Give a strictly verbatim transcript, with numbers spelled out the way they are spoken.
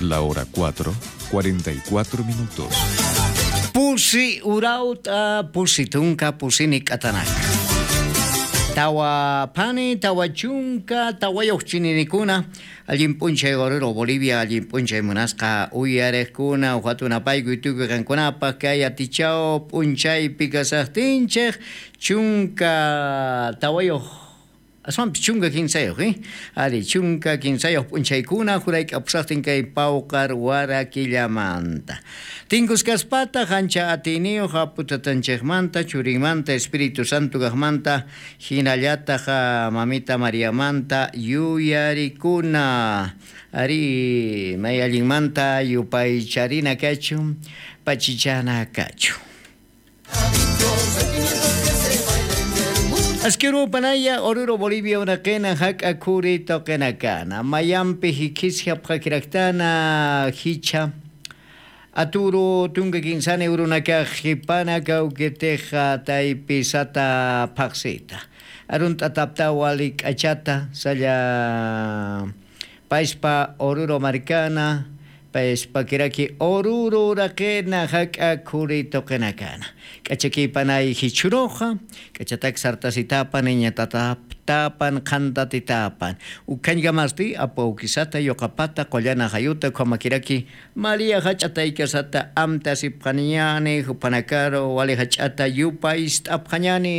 La hora cuatro, cuarenta y cuatro minutos. Pusi urawt'a, pusi tunka, pusi nik'atanak. Tawa phani, tawa chunka, tawayux chininikuna. Allin p'unchay Oruro Bolivia, allin p'unchay munasqa uyariqkuna, ujatunapaykuy tukuy qankunapaq kay atichaw p'unchaypi kasaqtinchik, chunka tawayux, aswanpis chunka kinsayux, eh? Ari, chunka kinsayux p'unchaykuna jurayk'apusaqtin kay pawqar warakillamanta. Tinkuskaspata, jancha atiyniyux Apu Tatanchikmanta, Churinmanta, Espíritu Santo kaqmanta, jinallatax, ah, Mamita Mariamanta yuyarikuna. Ari, may allinmanta yupaycharina kachun, pachichana kachun. Askirupanaya, Oruro Bolivia uraqina jak'a khuri tuqinakana. Mayampi jikhisjapxakiraktana jichha. Aturu tunka kinsani urunakax jipana kawkitixa taypi sata phaxsita. Arunt'atapta wali k'achata, salla payspa Oruro markana, payspa kiraki Oruro uraqina jak'a khuri tuqinakana. K'achakipanay jichhuruxa, k'achatak sartasitapan, iñatataptapan, qhantatitapan. Ukhañkamasti, apu awkisata, yuqapata, qullana jayuta, ukhamakiraki María jach'a taykasata amtasipxañani, jupanakaru wali jach'ata yupayst'apxañani.